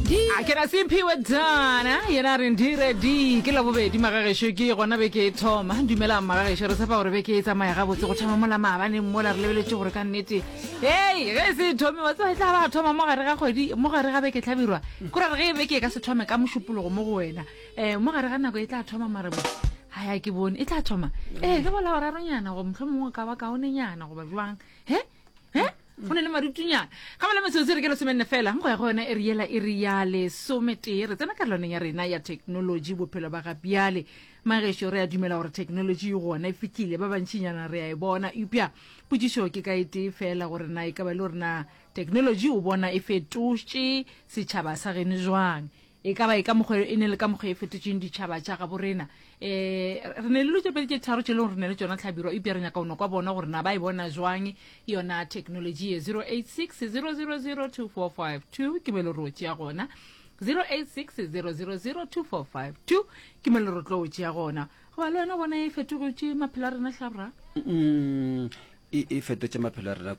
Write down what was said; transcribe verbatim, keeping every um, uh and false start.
A ke ra Simphiwe Dana yena a re ndire di ke labobedi magagešo ke gona beke e thoma. Dumelang magagešo, re tshepa gore beke e tsamaya gabotse go thoma mola maabaneng mola re lebeletše gore ka nnete hei ge e se e thome wa tseba e tla ba thoma mo gare ga kgwedi mo gare ga beke hlabirwa kore re ge beke e ka se thome ka mošupologo mo go wena um mo gare ga nako e tla thoma mare bo ga ya ke bone e tla thoma ee ke bola boraronyana go mohlomongwe ka ba kaonenyana goba jwang he he go ne le marutunyana ga bala metsotso re ke lesomenne fela go ya go yona e re yela e re ya lesometee re tsena karolwaneng ya rena ya technology bophelo ba ga bjale. Magešo re a dumela gore technology e gona e fihlile ba bantšinyana re a e bona eupša potšišo ke ka e tee fela gore na e ka ba le gore na technology o bona e fetotše setšhaba sa geno jwang e ka ba e ka mokgwa e ne le ka mokgwa e fetotšeng ditšhaba tša gabo rena. Um re ne le dilo tše pedi tše tharo tše leng gore re ne le tšona hlabirwa eupša re nyaka go no kwa bona gore na ba e bona jwang yona technology ye. Zero eight six zero zero zero two four five two ke mo e le gore o tšea gona. Zero eight six zero zero zero two four five two ke mo e le gore o tlo o tšea gona. Goba le wena o bona e fetogotše maphelo a rena hlabra? Mm, e, e fetotše maphelo a rena